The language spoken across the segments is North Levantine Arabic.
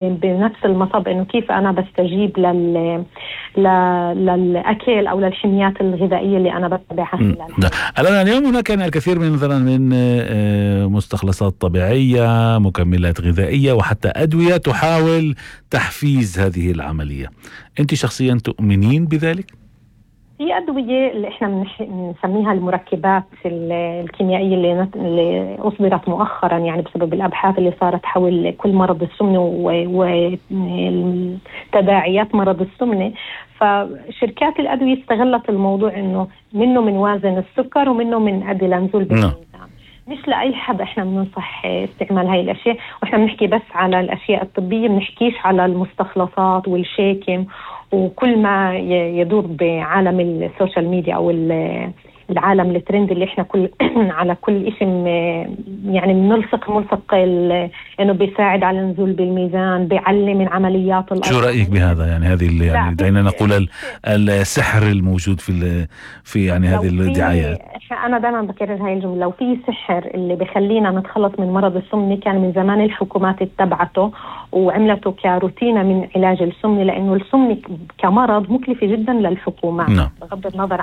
بنفس المصب إنه كيف أنا بستجيب للأكل أو للحميات الغذائية اللي أنا بتبعها خلال الآن اليوم هناك يعني الكثير من مثلا من مستخلصات طبيعية، مكملات غذائية، وحتى أدوية تحاول تحفيز هذه العملية. أنت شخصيا تؤمنين بذلك؟ في أدوية اللي إحنا بنسميها المركبات الكيميائية اللي أصدرت مؤخرا يعني بسبب الأبحاث اللي صارت حول كل مرض السمنة وتداعيات مرض السمنة. فشركات الأدوية استغلت الموضوع إنه منه من وازن السكر ومنه من أدي لنزول بالميزان. مش لأي حد إحنا بننصح استعمال هاي الأشياء، وإحنا بنحكي بس على الأشياء الطبية، بنحكيش على المستخلصات والشيكم وكل ما يدور بعالم السوشيال ميديا أو العالم الترند اللي إحنا على كل إشي يعني ملصق إنه بيساعد على النزول بالميزان، بيعلم من عمليات الأرض. شو رأيك بهذا؟ يعني هذه اللي يعني دعينا نقول السحر الموجود في يعني هذه الدعايات. أنا دائما بكرر هاي الجملة، لو في سحر اللي بيخلينا نتخلص من مرض السمنة كان من زمان الحكومات اتبعته وعملته كروتينة من علاج السمنة، لأنه السمنة كمرض مكلفة جدا للحكومات بغض النظر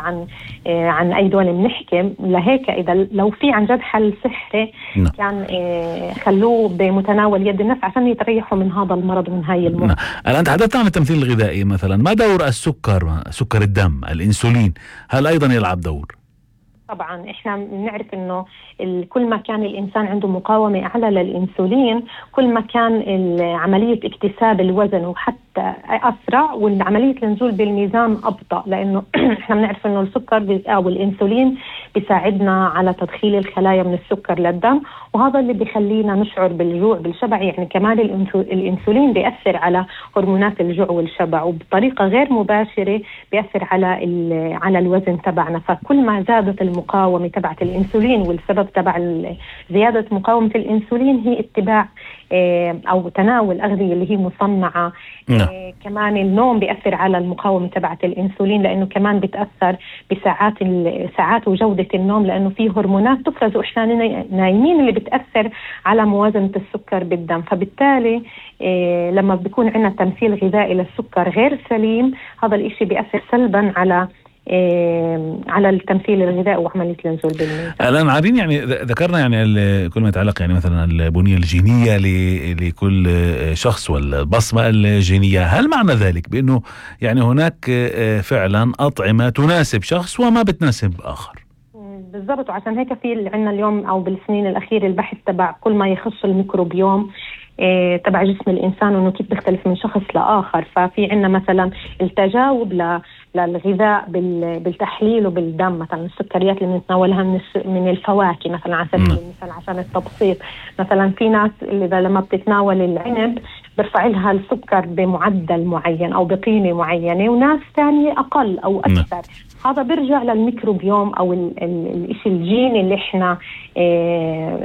عن أي دولة بنحكي. لهيك إذا لو في عن جد حل سحري كان خلوه بمتناول يد الناس عشان يتريحوا من هذا المرض ومن هاي المرض. الآن تحدثت عن التمثيل الغذائي مثلا، ما دور سكر الدم الإنسولين؟ هل أيضا يلعب دور؟ طبعا احنا بنعرف انه كل ما كان الانسان عنده مقاومة اعلى للانسولين كل ما كان عملية اكتساب الوزن وحتى اسرع، وعملية النزول بالميزان ابطأ، لانه احنا بنعرف انه السكر او الانسولين بيساعدنا على تدخيل الخلايا من السكر للدم، وهذا اللي بيخلينا نشعر بالجوع بالشبع. يعني كمان الانسولين بيأثر على هرمونات الجوع والشبع، وبطريقة غير مباشرة بيأثر على الوزن تبعنا. فكل ما زادت المقاومة تبعت الانسولين، والسبب تبع زيادة مقاومة الانسولين هي اتباع او تناول اغذية اللي هي مصنعة. كمان النوم بيأثر على المقاومة تبعت الانسولين، لانه كمان بتأثر ساعات وجودة النوم، لانه فيه هرمونات تفرز واحنا نايمين اللي بتأثر على موازنة السكر بالدم. فبالتالي لما بيكون عندنا تمثيل غذائي للسكر غير سليم، هذا الاشي بيأثر سلبا على التمثيل الغذائي وعملية النزول بالميزان. الآن عارفين يعني ذكرنا يعني كل ما يتعلق يعني مثلا البنية الجينية لكل شخص والبصمة الجينية، هل معنى ذلك بأنه يعني هناك فعلا أطعمة تناسب شخص وما بتناسب آخر؟ بالضبط، وعشان هيك في عندنا اليوم أو بالسنين الأخيرة البحث تبع كل ما يخص الميكروبيوم تبع جسم الإنسان وإنه كيف بيختلف من شخص لآخر. ففي عندنا مثلا التجاوب للغذاء بالتحليل وبالدم، مثلا السكريات اللي بنتناولها من الفواكه مثلا على سبيل المثال عشان التبسيط. مثلا في ناس اللي لما بتتناول العنب برفع لها السكر بمعدل معين أو بقيمة معينة، وناس ثانية أقل أو أكثر. هذا بيرجع للميكروبيوم أو الإشي الجيني اللي إحنا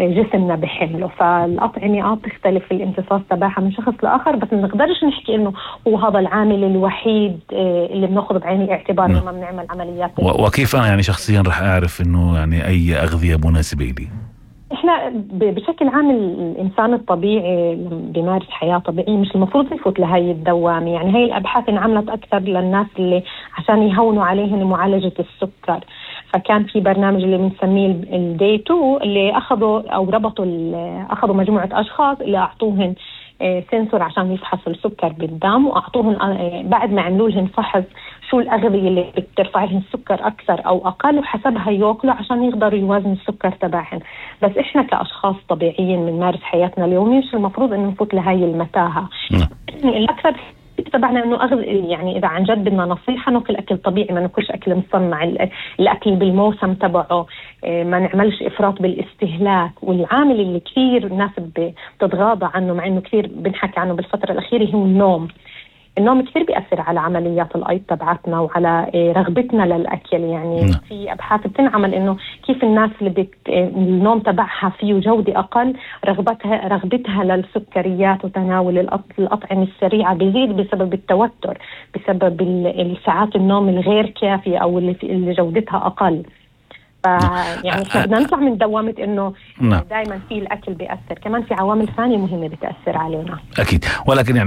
جسمنا بحمله. فالأطعمة بتختلف الامتصاص تبعها من شخص لآخر، بس ما نقدرش نحكي إنه هو هذا العامل الوحيد اللي بناخذ بعين الاعتبار لما بنعمل عمليات. وكيف أنا يعني شخصيا رح أعرف إنه يعني أي أغذية مناسبة لي؟ احنا بشكل عام الانسان الطبيعي بيمارس حياة طبيعية مش المفروض يفوت لهي الدوامة. يعني هاي الابحاث انعملت اكثر للناس اللي عشان يهونوا عليهم معالجة السكر. فكان في برنامج اللي بنسميه الداي 2 اللي اخذوا مجموعة اشخاص اللي اعطوهن سنسور عشان يفحصوا السكر بالدم، واعطوهن بعد ما عملوا لهم فحص شو الأغذية اللي بترفع لهم السكر أكثر أو أقل، وحسبها يأكلوا عشان يقدروا يوازنوا السكر تبعهم. بس إحنا كأشخاص طبيعيين بنمارس حياتنا اليومية مش المفروض إنه نفوت لهاي المتاهة. الأكثر تبعنا إنه يعني إذا عن جد بدنا نصيحة ناكل أكل طبيعي، ما ناكلش أكل مصنع، الأكل بالموسم تبعه، ما نعملش إفراط بالاستهلاك. والعامل اللي كثير الناس بتتغاضى عنه مع إنه كثير بنحكي عنه بالفترة الأخيرة هو النوم كثير بيأثر على عمليات الأيض تبعتنا وعلى رغبتنا للأكل. يعني في أبحاث بتنعمل إنه كيف الناس اللي النوم تبعها فيه جودة أقل رغبتها للسكريات وتناول الأطعمة السريعة بيزيد بسبب التوتر، بسبب الساعات النوم الغير كافية أو اللي جودتها أقل. يعني احنا بدنا نطلع من دوامة انه نعم. دائما في الاكل بيأثر، كمان في عوامل ثانية مهمة بتأثر علينا اكيد، ولكن يعني